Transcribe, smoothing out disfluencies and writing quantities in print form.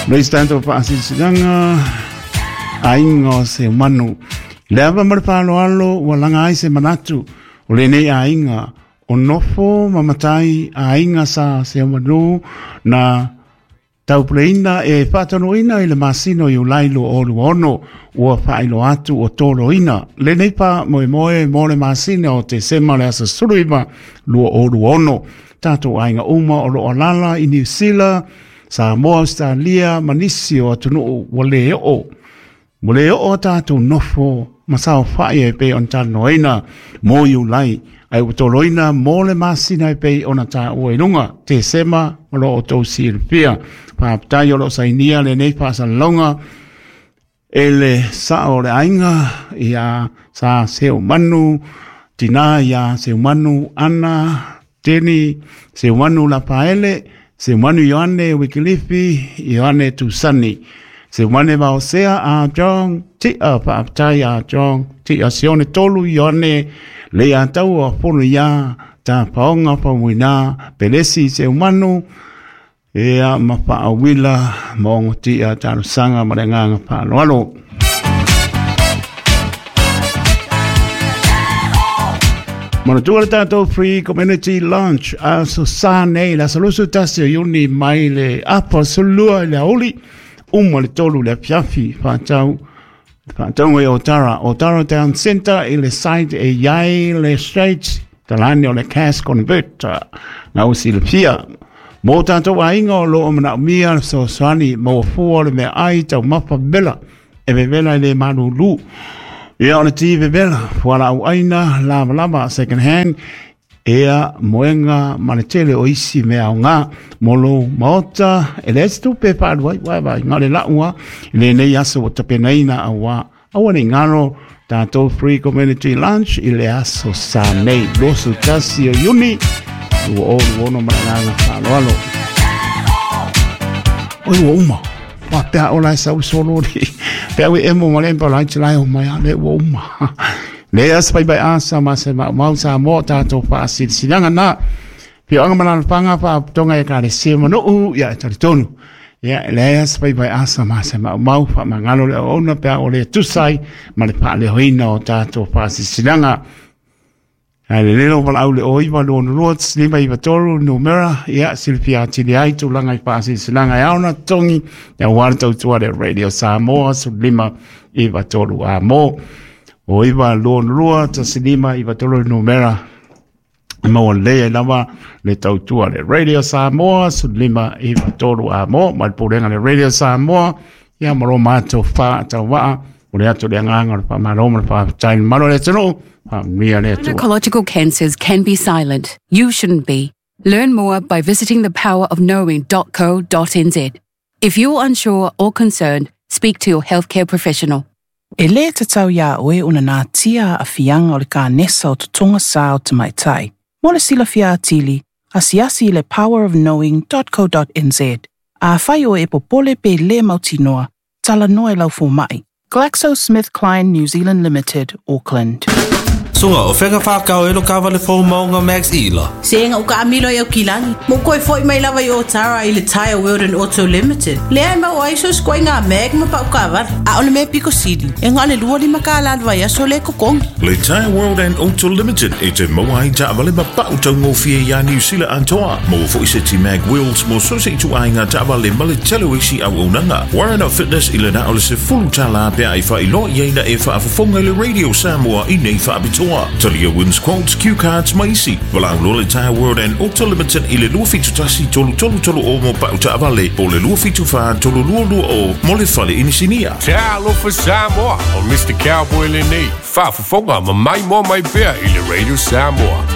Le tatou faasilasilaga aiga o Seumanu. Le ava ma le faaaloalo ua laga ai se manatu o lenei aiga o nofo ma matai aiga sa Seumanu na taupuleina e faataunuuina i le masina o Iulai 2026 ua faailoa atu ua toloina lenei faamoemoe mo le masina o Tesema le aso 19 2026. Tatou aiga uma o loo alaala i Niu Sila, Samoa, Australia ma nisi o atunuu ua le oo. Ua le oo a tatou nofo ma saofai e pei ona talanoaina mo Iulai, ae ua toloina mo le masina e pei ona taua i luga, Tesema o lo o outou silafia. Faafetai o lo o sainia lenei faasalalauga e le sao o le aiga ia sa Seumanu, tina ia Seumanu Ana Teni, Seumanu Lapaele, Seumanu Ioane Wikilifi, Ioane Tusani, Seumane Vaosea a John, Tia faafetai a John, Tia Sione Tolu Ioane, le ia taua fono ia ta paonga famuina, Pelesi Seumanu, ea ma faawila ma ongo tia talosaga ma le agaga faaaloalo. Manatua le tatou free community lunch aso sa nei le aso 21 o Iuni mai le afa 12 i le aoauli uma le 3 le afiafi faatau faatauga i Otara, Otara Town Centre i le site e i ai le Straits talane o le Cash Converter na ua silafia. Mo tatou aiga o lo o manaomia le fesoasoani maua fua o le meaai taumafa vela e vevela i le malulu. Ia o le ti vevela, fualaau aina, lavalava, second hand, ea moega ma le tele o isi mea aoga mo lou maota e leai se tupe e faaalu ai uae vaaiga o le lau a i lenei aso ua tapenaina auā aua ne i galo tatou free community lunch i le aso sa nei 21 o Iuni 2026 ma le agaga faaaloalo. Oi ua uma. Faapea ola e sau solo ni. Pe au e emo ma le empa lai te lai o mai a le ua uma. Le asa pai pai asa ma se mau mau sa mo tātou whaasilasilaga na. Pioanga ma lalafaga faapotoga e ekalesia ma nuu ia e talitonu. Ia e leai asa pai pai asa ma se maumau faamagalo le auauna pe a ua le tusa ai ma le faaleoina o tatou faasilasilaga. Ae lelei lou valaau i le 0922 593 numera, ia silafia atili ai tulaga i faasilasilaga e ao ona totogi aua le tautua le Radio Samoa 1593 a mo. O 922 1593 numera e maua lelei ai lava le tautua le Radio Samoa 1593 a mo mai le pulega le Radio Samoa ia ma lo matou faatauvaa o le atu le agaga o le faamalo ma le faafetai i le mamalu o le atunuu faamanuia le Atua. Gynecological cancers can be silent. You shouldn't be. Learn more by visiting thepowerofknowing.co.nz. If you're unsure or concerned, speak to your healthcare professional. E lē tatau iā oe ona natia aafiaga o le kanesa o totoga sa o tamaitai. Mo le silafia atili, asiasi i le powerofknowing.co.nz. Afai oe e popole pe lē mautinoa, talanoa i lau fomaʻi. GlaxoSmithKline New Zealand Limited, Auckland. Suga, o fea ka whākau e lo kawale fō maunga Max Ila? Se nga uka amilo i au kilagi. Mo koe foi mai lava i Otara i le Tyre World and Auto Limited. Lea e mau ai so skoe ngā mag ma pau kawara. A o le mea piko sili. E ngā le 25 ka la vai aso le kokongi. Le Tyre World and Auto Limited e te maua ai taavale ma pau taugofie iā Niu Sila atoa. Maua foi se ti mag wheels mo so se ituaiga taavale ma le tele o isi auaunaga. Warren of Fitness i le na o le $10 pe a e faailoa i ai na e faafofoga i le Radio Samoa i nei faapitoa. Talia wins quotes, cue cards ma isi. Valaau loa le Tyre World and Auto Limited i le 271 3330 mo pau taavale po o le 274 3220 mo le fale inisinia. Talofa Samoa, o Mr. Cowboy lenei, faafofoga ma maimoa mai pea i le Radio Samoa.